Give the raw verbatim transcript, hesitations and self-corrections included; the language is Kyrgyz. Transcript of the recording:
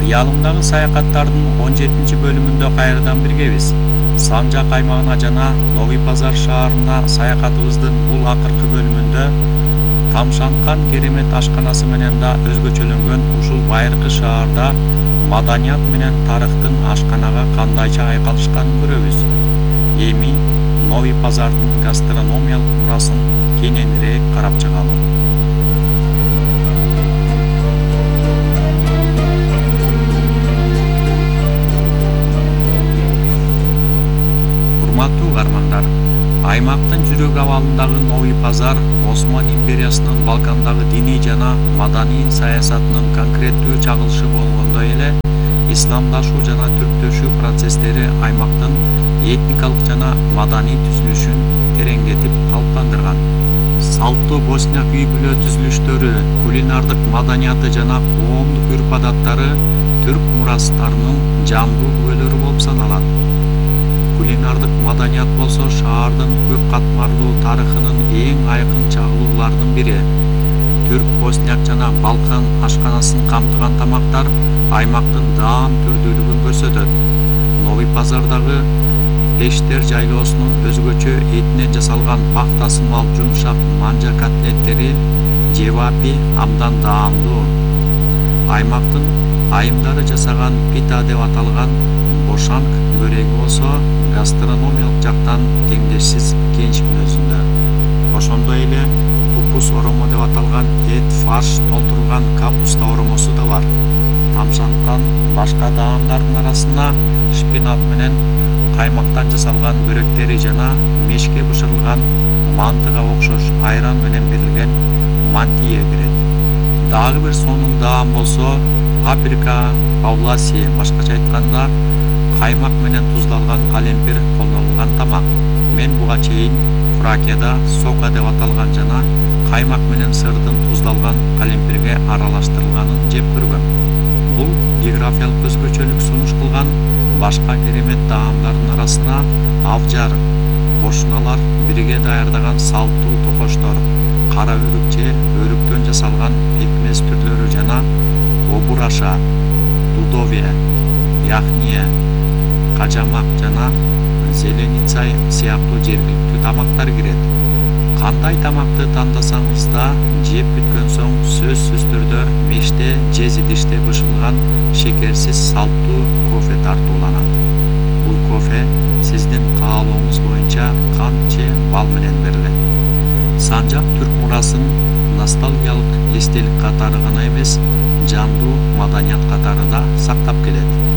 Ялымдагы саякаттардын он жетинчи бөлүмүндө кайрадан биргебиз. Санжак аймагына жана Новый Пазар шаарына саякатыбыздын бул акыркы бөлүмүндө тамшанткан керемет ашканасы менен да өзгөчөлөнгөн ушул байыркы шаарда маданият менен тарыхтын ашканага кандайча айкалышканын көрөбүз. Эми Новый Пазардын гастрономиялык мурасын кененирээк карап чыгалы. Урматтуу угармандар, аймактын жүрөк абалындагы Новый Пазар Осман империясынын Балкандагы диний жана маданий саясатынын конкреттүү чагылышы болгондой эле, исламдашуу жана түрктөшүү процесстери аймактын этникалык жана маданий түзүлүшүн тереңдетип калыптандырган. Салттуу босняк үй-бүлө түзүлүштөрү, кулинардык маданияты жана коомдук үрп-адаттары түрк мурастарынын жандуу күбөлөрү болуп саналат. Кулинардык маданият болсо шаардын көп катмарлуу тарыхынын эң айкын чагылууларынын бири. Түрк, босняк жана Балкан ашканасын камтыган тамактар аймактын даам түрдүүлүгүн көрсөтөт. Новый Пазардагы Пештер жайлоосунун өзгөчө этинен жасалган пахтасымал жумшак манжа котлеттери жевапи абдан даамдуу. Аймактын айымдары жасаган пита деп аталган бошанк бөреги болсо гастрономиялык жактан теңдешсиз кенч мүнөзүндө. Ошондой эле купус оромо деп аталган эт фарш толтурулган капуста оромосу да бар. Тамшанткан башка даамдардын арасына шпинат менен каймактан жасалган бөрөктери жана мешке бышырылган мантыга окшош айран менен берилген мантия кирет. Дагы бир сонун даам болсо паприка павласи, башкача айтканда каймак менен туздалган калемпир колдонулган тамак. Мен буга чейин Фракияда сока деп аталган жана каймак менен сырдын туздалган калемпирге аралаштырылганын жеп көргөм. Бул географиялык өзгөчөлүк сунуш кылган башка керемет даамдардын арасына авжар, кошуналар бирге даярдаган салттуу токоштор, кара өрүкче, өрүктөн жасалган пекмез түрлөрү жана обураша, дудовия, яхния, кажамак жана зеленицай сыяктуу жергиликтүү тамактар кирет. Кандай тамакты тандасаңыз да жеп бүткөн соң сөзсүз түрдө меште же идиште бышырылган шекерсиз салттуу кофе тартууланат. Бул кофе сиздин каалооңуз боюнча кант же бал менен берилет. Санжак түрк мурасын ностальгиялык эстелик катары гана эмес, жандуу маданият катары да сактап келет.